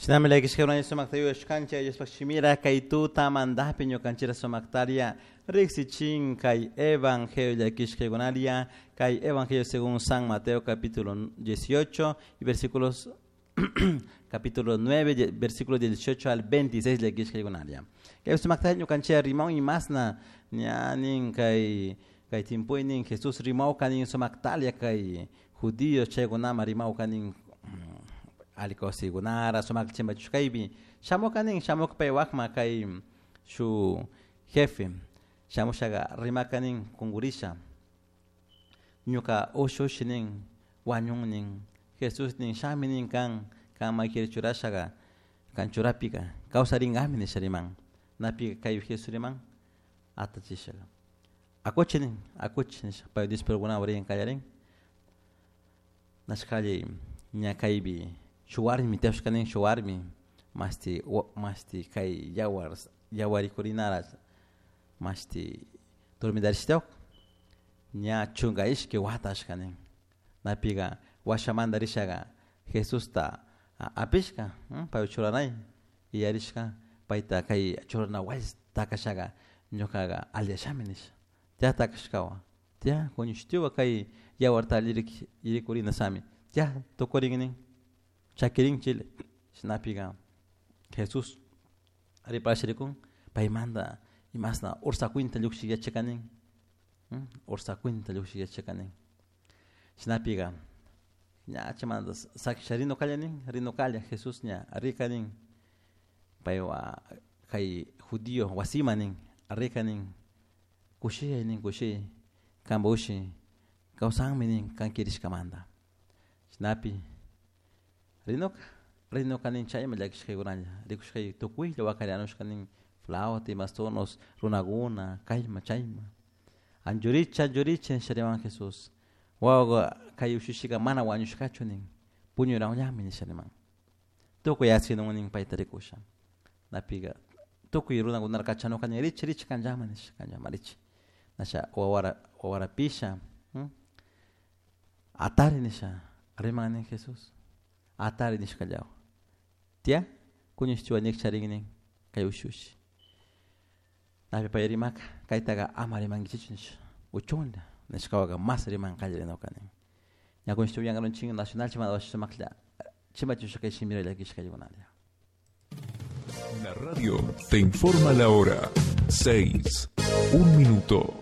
Shinami llakishka sumakta yuyashkanchik Diospaj shimira kay tuta mandapi ñukanchira sumaktaria riksichin kay evangelio llakishkaykunaria kay evangelio según San Mateo capítulo 18 y versículos capítulo 9 versículos 18 al 26 llakishkaykunaria. Kay sumakta ñukanchira rimaw imasna ñanin kay kay timpuynin Jesús rimawka nin sumaktalia kay judíos chaykunama rimawka nin alkawsaykunara sumak chimbachushkaypi shamuka nin shamuka pay wakma kay shu jefe shamushaga rimaka nin kunkurisha ñuka ushushi nin wañun nin Jesús nin shami nin kan kan makira churashaga kan churapika kawsarinkami nisha riman napi kay Jesús riman atachishaga akuchi nin akuchi nisha pay discipulukunawan rin kallarin nashkalli ña kaypi shuk warmi tiyashka nin shuk warmi mashti mashti kay yawar yawarikurinara mashti dormidarishtiawak ña 12 wata ashka nin napiga washamanta rishaga Jesusta apishka pay churanay yuyarishka payta kay churana wasi takashaga ñukaga alliyashami nisha tiya takashkawan tiya kuñushtiwa kay yawarta alli rikurina sami tiya tukurin nin chakirin chile shinapiga Jesús riparasha rikun paymanta imasna ursa cuenta llukshik yachakanin ursa cuenta llukshik yachakanin shinapiga ña chaymanta sakisha rinukalla nin rinukalla Jesús ña rika nin paywan kay judío wasima nin rika nin kushiyay nin kushiyay kanpa ushi kawsanmi nin kan kirishkamanta shinapi rinuka rinuka nin chayma llakishkaykunalla rikushkay tukuylla wakarianushka nin flauta imastonos runakuna kayma chayma anchurichi anchurichi nisha riman Jesús wawa kay ushushika mana wañushkachu nin puñurawllami nisha riman tukuy asinun nin payta rikusha napiga tukuy runakunara kachanuka nin richi richi kanllama nisha kanllama richi nasha wawara wawarapisha atari nisha riman nin Jesús atari nishkallawa tiya kuñushtiwa nikcharin nin kay ushushi napi pay rimaka kaytaqa ama rimankichichu nisha uchunlla nishkawaka mas riman qallarinoka nin ña kuñushtiwa yankarunchik nacional chimanta sumaklla chimbachishka kay shimira llakishkaykunalla. La radio te informa la hora 6, 1 minuto.